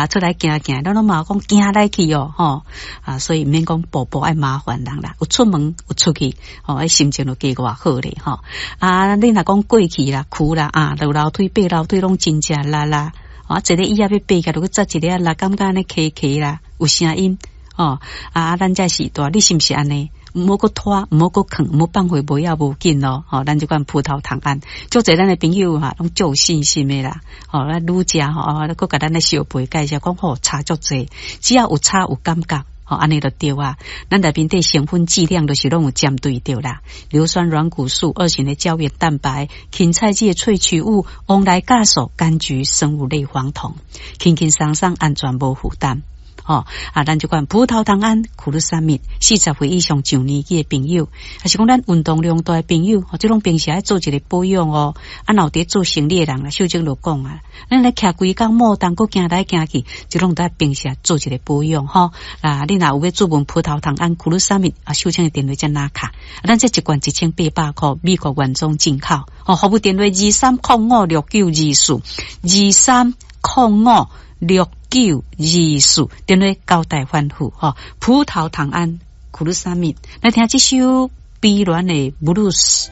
啊，出來行行，咱攏嘛講行來去哦，吼啊，所以毋免講步步愛麻煩人啦，有出門有出去，吼，彼心情就加偌好咧，吼啊，你若講過去啦、跍啦啊，落樓梯、爬樓梯攏真正力啦，啊，一个椅仔欲爬起來，就閣扎一个力，感覺按呢磕磕啦，有聲音，吼啊，咱這時代，你是毋是按呢？毋好閣拖，毋好閣囥，毋好放予無要無緊咯。吼，咱這款葡萄糖胺，足濟咱的朋友哈，攏足有信心的啦。吼，咱愈食吼，閣共咱咧相陪介紹講吼，差足濟，只要有差有感覺，吼，按呢就對啊。咱內面底成分劑量都是攏有針對著啦。硫酸軟骨素、二型的膠原蛋白、芹菜籽的萃取物、黃來酵素、柑橘生物類黃酮，輕輕鬆鬆，安全無負擔。吼啊，咱這款葡萄糖胺、苦魯三敏，40歲以上上年紀的朋友，抑是講咱運動量大的朋友，這攏平時愛做一个保養哦。啊，若有佇做生理的人啦，秀珍就講啊，咱來徛規工莫動，閣行來行去，這攏得平時做一个保養吼。啊，你若有欲注文葡萄糖胺、苦魯三敏啊，秀珍的電話遮拿卡，咱這一罐1800箍，美國原裝進口。哦，服務電話23056924，23056924，電話交代吩咐吼。葡萄糖胺、苦魯三敏，來聽這首悲戀的布魯斯。